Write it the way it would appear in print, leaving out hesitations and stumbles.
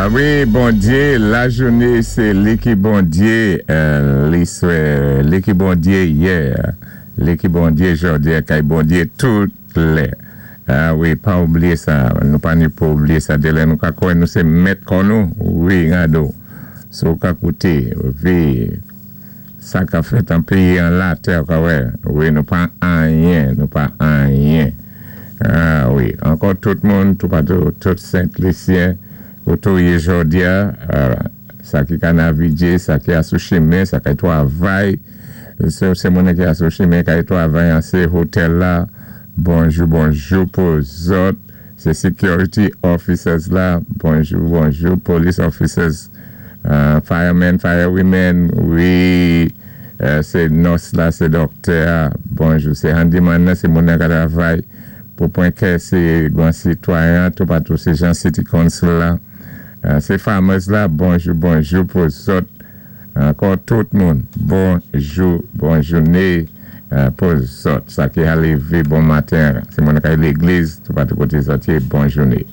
A wi, Bondyé, lajounin sé li ki Bondyé, li swè, li ki Bondyé yè, li ki Bondyé jòdi a kay Bondyé tout lè. A wi, pa oubliyé sa, nou pa ni pou oubliyé sa, dé lè nou ka kwè nou sé mèt kò nou, wi, gado, si ou ka kouté, vi, sa ka fèt an péyi an latè, ou ka wè, wi, nou pa anyen, nou pa anyen. A wi, ankò tout moun, toupatou, tout Sent Lisyen, koté ou yé jòdi a, sa ki ka navigé, sa ki a sou chimen, sa kay twavay, sé moun ki a sou chimen kay twavay an sé hotèl la, bonjou bonjou pou zòt, sé security officers la, bonjou bonjou, police officers, firemen, firewomen, wi, sé nurse la, sé dòktè a, bonjou, sé handyman nan, sé moun nan ka travay, pou pwen kè sé gran sitwayen, toupatou sé jan city council la, sé farmers la, bonjou bonjou pou zòt, ankò tout moun, bonjou, bon jouné pou zòt, sa ki a lévé bon maten, sé moun kay légliz, toupatou koté zòt yé, bon jouné.